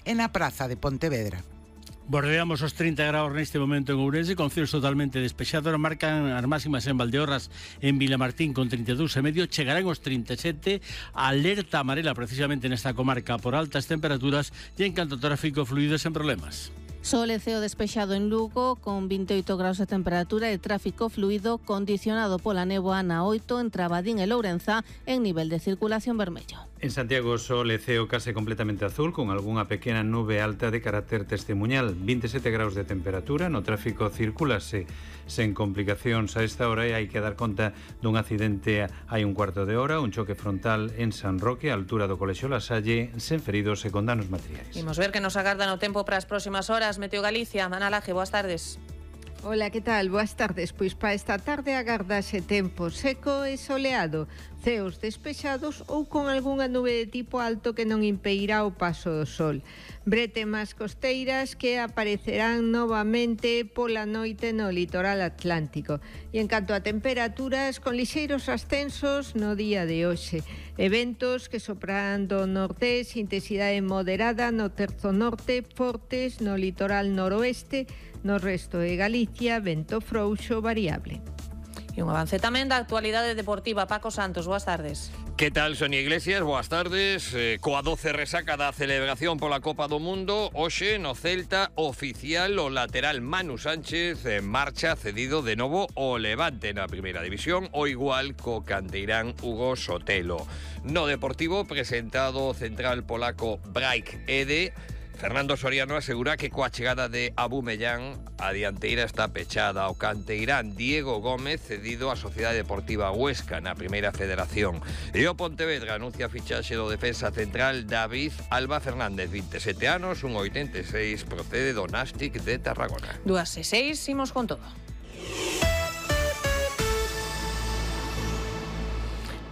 en la Praza de Pontevedra. Bordeamos os 30 graus neste momento en Ourense, con cielos totalmente despexados. Marcan as máximas en Valdeorras, en Vilamartín con 32,5, chegarán os 37, alerta amarela precisamente nesta comarca por altas temperaturas e en canto ao tráfico fluido sen problemas. Sol e ceo despexado en Lugo con 28 graus de temperatura e tráfico fluido condicionado pola néboa na 8 entre Abadín e Lourenza en nivel de circulación vermello. En Santiago, sol e ceo case completamente azul, con algunha pequena nube alta de carácter testemuñal. 27 graus de temperatura, no tráfico circulase sen complicacións a esta hora e hai que dar conta dun accidente hai un cuarto de hora, un choque frontal en San Roque, a altura do Colexio La Salle, sen feridos e con danos materiais. Imos ver que nos agardan o tempo para as próximas horas. Meteo Galicia, Ana Laje, boas tardes. Ola, que tal? Boas tardes. Pois para esta tarde agardase tempo seco e soleado, ceos despexados ou con algunha nube de tipo alto que non impedirá o paso do sol. Bretemas costeiras que aparecerán novamente pola noite no litoral atlántico. E en canto a temperaturas, con lixeiros ascensos no día de hoxe. Eventos que soprarán do nordés, intensidade moderada no terzo norte, fortes no litoral noroeste, no resto de Galicia, vento frouxo variable. E un avance tamén da actualidade deportiva. Paco Santos, boas tardes. Que tal, Sonia Iglesias? Boas tardes. Coa 12 resaca da celebración pola Copa do Mundo, hoxe no Celta oficial o lateral Manu Sánchez en marcha cedido de novo ao Levante na primeira división, o igual co canteirán Hugo Sotelo. No Deportivo, presentado o central polaco Braik Ede, Fernando Soriano asegura que coa chegada de Abumellán a dianteira está pechada. O canteirán Diego Gómez cedido á Sociedade Deportiva Huesca na Primeira Federación. E o Pontevedra anuncia a fichaxe do defensa central David Alba Fernández, 27 anos, 1,86, procede do Nástic de Tarragona. 2:06, imos con todo.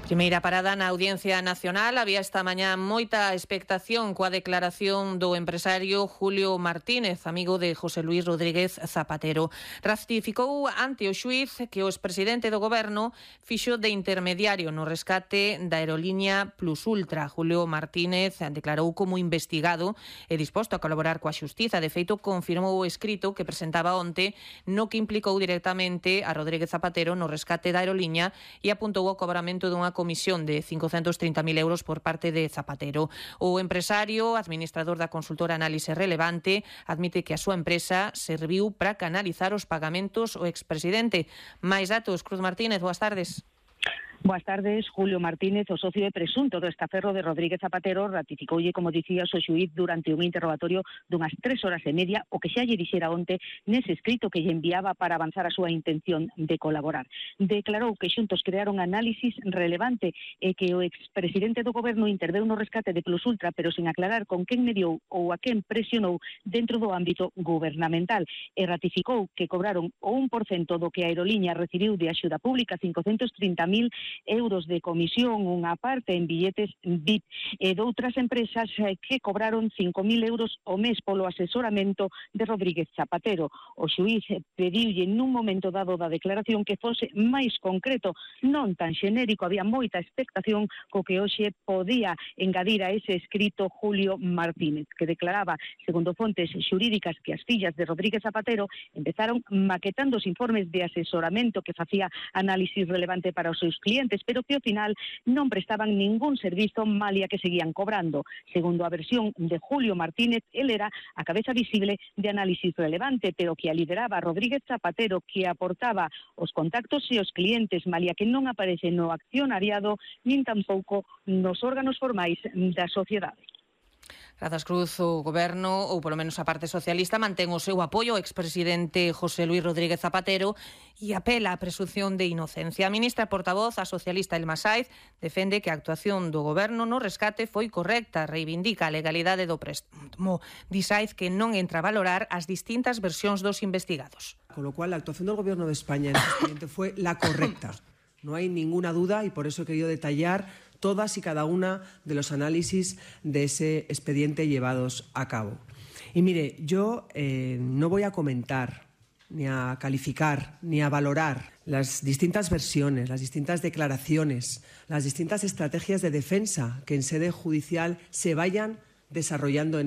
Primeira parada na Audiencia Nacional. Había esta mañá moita expectación coa declaración do empresario Julio Martínez, amigo de José Luis Rodríguez Zapatero. Ratificou ante o xuíz que o expresidente do goberno fixo de intermediario no rescate da aerolínea Plus Ultra. Julio Martínez declarou como investigado e disposto a colaborar coa xustiza. De feito, confirmou o escrito que presentaba onte no que implicou directamente a Rodríguez Zapatero no rescate da aerolínea e apuntou ao cobramento dunha comisión de 530.000 euros por parte de Zapatero. O empresario, administrador da consultora Análise Relevante, admite que a súa empresa serviu para canalizar os pagamentos ao expresidente. Mais datos, Cruz Martínez, boas tardes. Boas tardes. Julio Martínez, o socio e presunto do estaferro de Rodríguez Zapatero, ratificoulle, como dicías, o xuíz durante un interrogatorio dunhas 3 horas e media o que xa lle dixera onte nese escrito que lle enviaba para avanzar a súa intención de colaborar. Declarou que xuntos crearon análisis relevante e que o expresidente do goberno interveu no rescate de Plus Ultra, pero sin aclarar con quen mediou ou a quen presionou dentro do ámbito gubernamental, e ratificou que cobraron o 1% do que a aeroliña recibiu de axuda pública, 530.000 euros de comisión, unha parte en billetes VIP, e doutras empresas que cobraron 5.000 euros ao mes polo asesoramento de Rodríguez Zapatero. O xuíz pediulle nun momento dado da declaración que fose máis concreto, non tan xenérico. Había moita expectación co que hoxe podía engadir a ese escrito Julio Martínez, que declaraba, segundo fontes xurídicas, que as fillas de Rodríguez Zapatero empezaron maquetando os informes de asesoramento que facía análisis relevante para os seus clientes, pero que ao final non prestaban ningún servizo, malia que seguían cobrando. Segundo a versión de Julio Martínez, él era a cabeza visible de análisis relevante, pero que a lideraba Rodríguez Zapatero, que aportaba os contactos e os clientes, malia que non aparece no accionariado nin tampouco nos órganos formais da sociedade. Grazas, Cruz. O goberno, ou polo menos a parte socialista, mantén o seu apoio ao expresidente José Luis Rodríguez Zapatero e apela á presunción de inocencia. A ministra portavoz, a socialista Elma Sáiz, defende que a actuación do goberno no rescate foi correcta, reivindica a legalidade do préstamo. Di Sáiz que non entra a valorar as distintas versións dos investigados. Con lo cual, la actuación del gobierno de España en este expediente fue la correcta. No hay ninguna duda y por eso he querido detallar todas y cada una de los análisis de ese expediente llevados a cabo. Y mire, yo no voy a comentar, ni a calificar, ni a valorar las distintas versiones, las distintas declaraciones, las distintas estrategias de defensa que en sede judicial se vayan desarrollando en